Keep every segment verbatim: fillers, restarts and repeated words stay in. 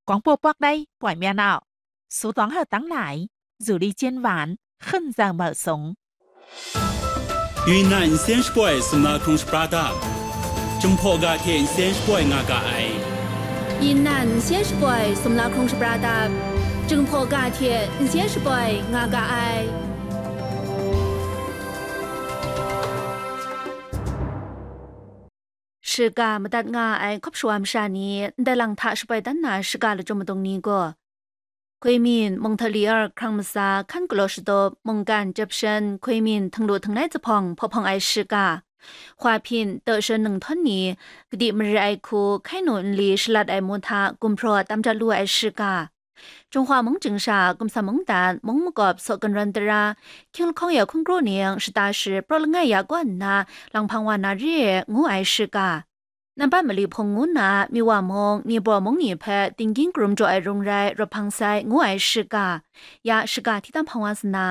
广播 Pakdai ပွင့်မြတ်အောင် စူးသွမ်းဟတ်တမ်းလိုက် ဇူလီကျင်းဝန် ခင်းစံမုတ်ဆုံး Yunnan အင်းစင်းရှပွိုင် စမလာခုံရှပရာတပ် Jinghpaw ga hte အင်းစင်းရှပွိုင် nga ga ai. Yunnan အင်းစင်းရှပွိုင် စမလာခုံရှပရာတပ် Jinghpaw ga hte အင်းစင်းရှပွိုင် nga ga ai. Shiga madat nga ai hkawp shawa masha ni ndai lang hta shapoi dan na shiga lachyum madung ni gaw, Hkuimin, Munghtali ar hkrang matsa, hkan galaw shatup, mungkan, jep shan, hkuimin, htinglu htinglai zuphpawng hpaw hpawng ai shiga, hwaphin, tawshan ninghtawng ni, kadi mare ai hku, hkai nu nli shalat ai mu hta gumhpraw tam jat lu ai shiga, Jinghpaw mung chyingsha, Gumsam mungdan, mung makawp, saw gunrawn tara, hkying lahkawng ya hkungru ning, shata shi, praw langai ya kaw nna, lang hpang wa na re, ngu ai shiga, Nampat mali hpung ngu nna, Miwa mung, Nibaw mung ni hpe tinggying karum jaw ai rung rai rawt hpang sai, ngu ai shiga, ya shiga hti tam hpang wa sa na.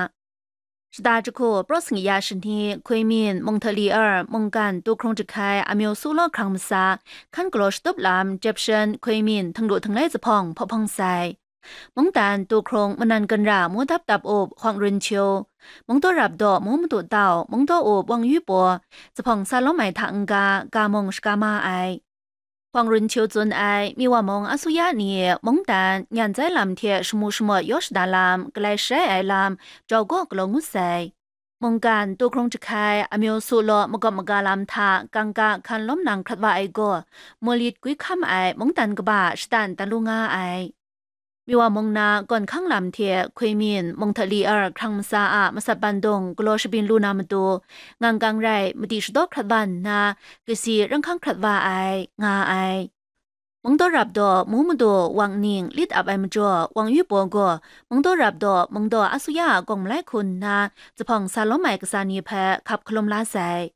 Shata jahku, praw sangi ya shani, hkuimin, munghtali ar, mungkan, tu hkrung jahkai, amyu su law hkrang matsa, hkan galaw shatup lam, jep shan, hkuimin, htinglu htinglai zuphpawng hpaw hpawng sai. Mungdan, tu hkrung, manan ganra, mu dap dap up, hpawng run htiu, mungdaw rap daw, mu madu tau, mungdaw up, wang yu paw, zuphpawng sa lawm ai hta n-ga, ga mung shaga ma ai. Hpawng run htiu tsun ai, Miwa mung asuya ni, mungdan, nyan zai lam hte shamu shamawt yaw shada lam, galai sharai ai lam, jau gaw galaw ngut sai. Mungkan, tu hkrung jahkai, amyu su law makawp maga lam hta, kangka hkan lawm nang hkrat wa ai gaw, mulit gwi hkam ai mungdan kaba shatan dan lu nga ai. Miwa mung na gawn hkang lam hte hkuimin, munghtali ar hkrang matsa a masat bandung galaw shabyin lu na matu, ngang kang rai madi shadaw hkrat wa nna, kasi ranghkang hkrat wa ai, nga ai. Mungdaw rap daw, mu madu, wang ning, lit ap ai majaw, wang yu paw gaw, mungdaw rap daw, mungdaw asuya a gawng malai hku nna, zuphpawng sa lawm ai kasa ni hpe hkap hkalum la sai.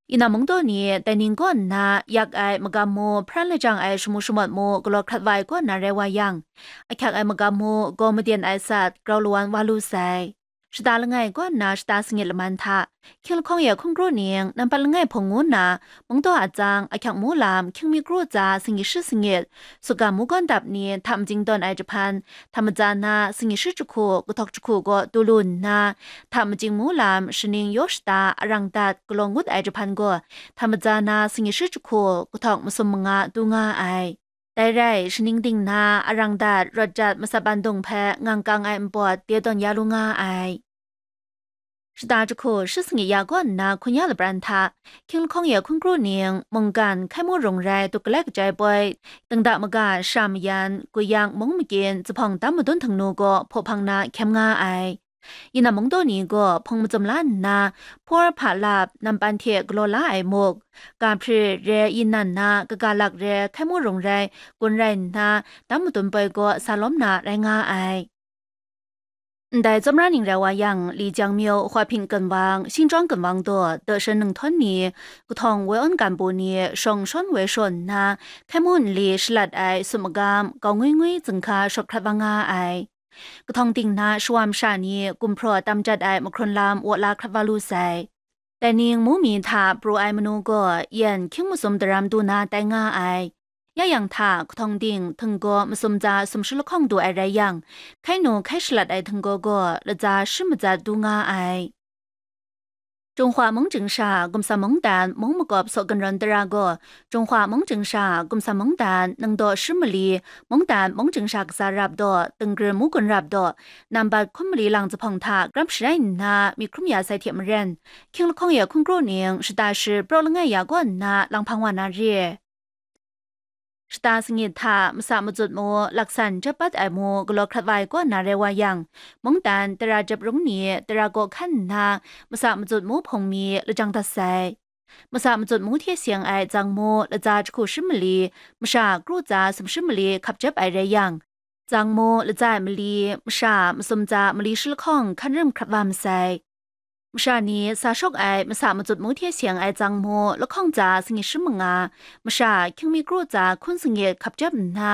Inam mungdaw ni dai ning kaw nna yak ai magam mu, hparan lajang ai shamu shamawt mu galaw hkrat wa ai kaw na rai wa yang, ahkyak ai magam mu, gaw maden ai sat, grau lawan wa lu sai. Shata langai kaw nna shata sangit laman hta, hkying lahkawng ya hkungru ning, nampat langai hpung ngu nna, mungdaw atsang, ahkyak mu lam, hkying mi kru tsa, singit shi singit, sutgam mu gawn dap ni, hta majing dawn ai jahpan, hta matsa na, singit shi jahku, kahtawk jahku gaw tu lu nna, hta majing mu lam, shaning yaw shata, arang dat, galaw ngut ai jahpan gaw, hta matsa na, singit shi jahku, kahtawk masum manga tu nga ai. Dai rai, shaning ding na, arang dat, rawt jat, masat bandung hpe ngang kang ai npawt, de dawn ya lu nga ai. Shata jahku, shi sangit ya kaw nna hkun ya lapran hta, hkying lahkawng ya hkungru ning, mungkan, hkai mu rung rai, duk galai kajai poi, dingda maga, sha mayan, guyang, mung magyin, zuphpawng tam madun htingnu gaw hpaw hpang na hkyem nga ai. Inam mungdaw ni gaw hpung macum la nna, hpawr hpa lap, nampan hte galaw la ai muk, ga hpri re, inan na, kaga lak re, hkai mu rung rai, gun rai nna, tam madun poi gaw sa lawm na rai nga ai. Ndai tsawmra ning rai wa yang, Li Jiang Myo, Hua Hpin Ken Wang, Xinjuang Ken Wang daw, Dawshan Ninghtawng ni, Kahtawng Woi Awn Gan Pu ni, shawng shawn woi shawn nna, hkai mu nli shalat ai sum magam, gau ngwi ngwi zingka shawt hkrat wa nga ai. Kahtawng ting na shawa masha ni gumhpraw tam jat ai mahkrun lam wa la hkrat wa lu sai. Dai ning mu mi hta pru ai manu gaw yan hkying masum daram du na tai nga ai. Ya yang hta, kahtawng ting, htinggaw masum tsa sumshi lahkawng du ai rai yang, hkai nu hkai shalat ai htinggaw gaw latsa shi matsat du nga ai. Jinghpaw mung chyingsha, Gumsam mungdan, mung makawp saw gunrawn tara gaw, Jinghpaw mung chyingsha, Gumsam mungdan, ningdaw shi mali, mungdan mung chyingsha kasa rap daw, dingri mu gun rap daw, nambat hkun mali lang zuphpawng hta grap sharai nna myit hkrum ya sai hte maren, hkying lahkawng ya hkungru ning shata shi praw langai ya kaw nna lang hpang wa na re. Shata sangit hta masa matsut mu, laksan jep pat ai mu galaw hkrat wa ai kaw na rai wa yang, mungdan tara jep rung ni tara kaw hkan nna, masa matsut mu hpung mi lajang dat sai. Masa matsut mu hte seng ai tsang mu latsa jahku shi mali, masha kru tsa sumshi mali hkap jep ai rai yang, tsang mu latsa ai mali, masha masum tsa mali shi lahkawng hkan rim hkrat wa masai. Masha ni sa shawk ai masa matsut mu hte seng ai tsang mu lahkawng tsa sangit shi manga, masha hkying mi kru tsa hkun sangit hkap jep nna,